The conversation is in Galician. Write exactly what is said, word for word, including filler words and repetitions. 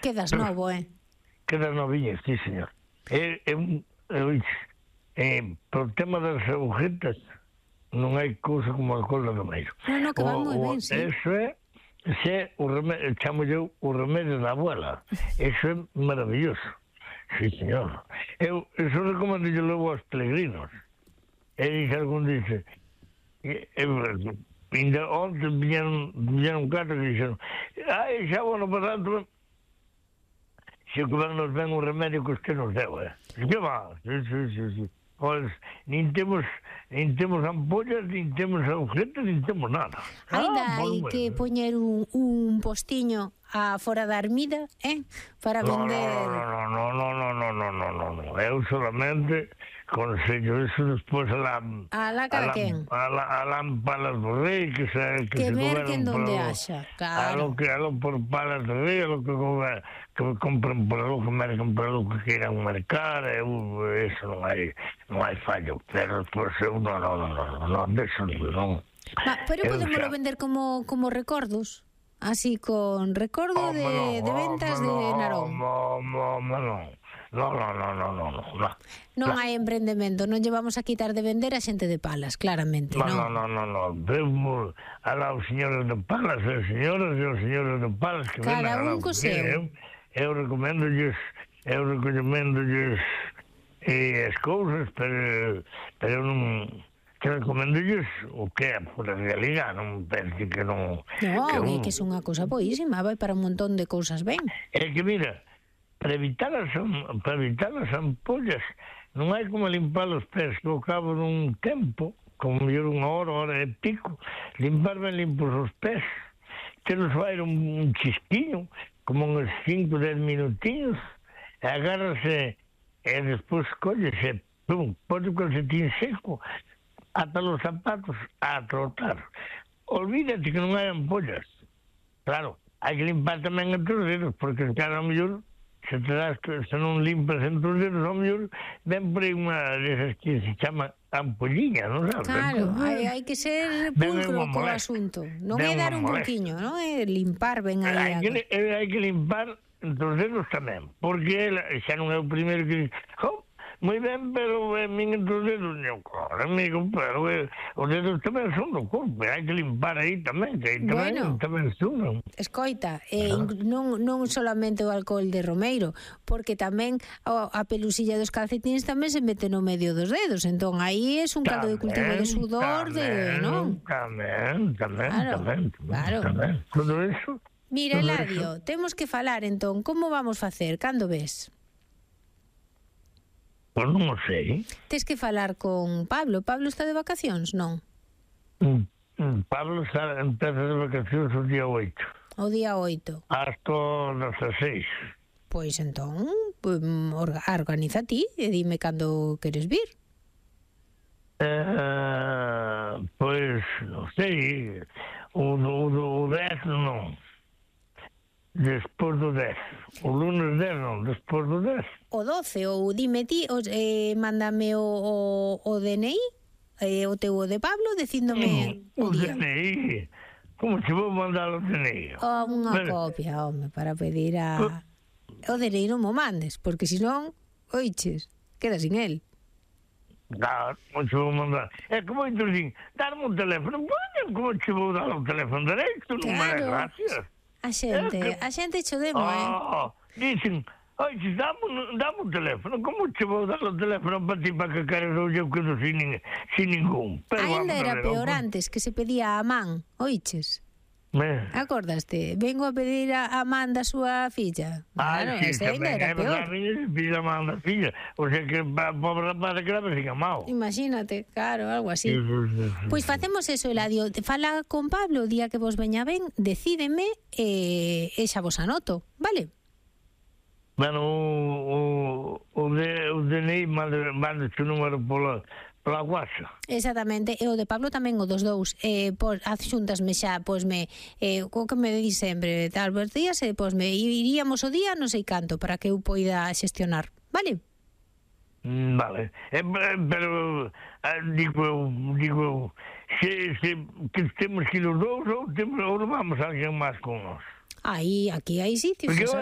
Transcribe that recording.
Quedas novo, eh? Quedas noviña, sí, señor. É, é un... É, por tema das agujetas, non hai cousa como a cola do meiro. No, no, que va moi ben, sí. Eso é, ese é o remedio, chamo eu o remedio da abuela. Eso é maravilloso. Sí, señor. Eu, eso recomendo yo logo aos peregrinos. E dice algún dice, eu, ainda onte viñeron, viñeron catro que dixeron, ai, xa bueno, para tanto, se o que van nos ven un remedio que usted nos deu, eh? Que va? Sí, sí, sí, sí. Pois, nin temos, nin temos ampollas, nin temos agujetas, nin temos nada. Ainda ah, hai que poñer un, un postiño a fora da ermida, eh? Para no, vender... No, no, no, no, no, no, no, no, no, no. Eu solamente consello eso despois a la... A la cara quen? A la, a lámparas do rei, que se... Que, que merquen donde haxa, claro. A lo que, a lo por palas do rei, a lo que... que compren por lo que mercan por lo que queiran mercar, eu, eso non hai non hai fallo, pero despois eu non, non, non, non, non, deso non. Ma, pero podémoslo vender como, como recordos, así con recordo oh, de, no, de ventas oh, de Narón. No, no, no, no, no, no, no, no, no, no. Non hai emprendemento, non llevamos a quitar de vender a xente de Palas, claramente, no, non? No, no, no, no, vemos a los señores de Palas, as señoras e os señores de Palas que ven a la mujer, eu recoméndolles, eu recoméndolles eh, as cousas, pero, pero non, que recoméndolles o que é por a realidade, non pense que non... No, que, un... que é unha cousa boísima, vai para un montón de cousas ben. É que, mira, para evitar as, para evitar as ampollas, non hai como limpar os pés, que ao cabo dun tempo, como mellor unha hora, hora e pico, limpar ben limpos os pés, que nos vai un, un chisquiño, como uns cinco, dez minutinhos, agárrase e despois collese, pum, pode o calcetín seco, ata los zapatos a trotar. Olvídate que non hai ampollas. Claro, hai que limpar tamén entre os dedos, porque cada mellor, se te das, se non limpas entre os dedos, ao mellor, ven por aí unha desas que se chama ampolliña, non sabes? Claro, hai, hai que ser pulcro co asunto. Non é dar un pouquiño, non é limpar ben aí. Hai que, hai que limpar entre os dedos tamén, porque xa non é o primeiro que dice, oh, moi ben, pero é min entre os dedos, non, claro, amigo, pero eh, os dedos tamén son do corpo, hai que limpar aí tamén, que aí tamén, bueno, tamén son. Escoita, eh, ah. non, non solamente o alcohol de Romeiro, porque tamén a, a pelusilla dos calcetines tamén se mete no medio dos dedos, entón aí é un caldo de cultivo de sudor, tamén, de, non? Tamén, tamén, claro, tamén, claro. tamén, todo eso. Mira, Eladio, temos que falar entón, como vamos facer, cando ves? Pois non o sei. Tes que falar con Pablo. Pablo está de vacacións, non? Mm, mm, Pablo está, empeza de vacacións o día oito. O día oito. Hasta os seis. Pois entón, pues, organiza ti e dime cando queres vir. Eh, pois, non sei, o, o, o dez non. Despois do dez. O lunes dez non, despois do dez. O doce, ou dime ti, os, eh, mándame o, o, o D N I, eh, o teu de Pablo, dicíndome mm, o, o día. D N I? Como se vou mandar o D N I? Oh, unha pero... copia, home, para pedir a... Pero... O D N I non mo mandes, porque senón, oiches, queda sin el. Claro, como se vou mandar? É como eu dicen, darme un teléfono, bueno, como se vou dar o teléfono dereito, non me dá gracias. A xente, que... a xente cho demo, oh, eh? Dicen, oi, dame, dame un teléfono, como che vou dar o teléfono para ti para que queres ou eu quedo sin, sin ningún? Pero ainda era peor antes, que se pedía a man, oiches? Me... Acordaste? Vengo a pedir a, a man da súa filla. Claro, ah, sí, ese ainda era peor. Pide a man da filla. O sea que a pobre rapaz que la siga mal. Imagínate, claro, algo así. Pois pues facemos eso, Eladio. Fala con Pablo o día que vos veña ben, decídeme e eh, xa vos anoto, vale? Bueno, o, o, o, de, o D N I manda, manda o número pola... Pola guaxa. Exactamente, e o de Pablo tamén, o dos dous. Eh, pois, adxúntasme xa, pois me, eh, o que me di sempre, tal vez días, e pois me iríamos o día, non sei canto, para que eu poida xestionar, vale? Mm, vale, eh, pero, eh, digo eu, digo eu, se, se, que temos que ir os dous, ou, temos, ou vamos a alguén máis con nós? Aí, aquí hai sitios. Porque eu,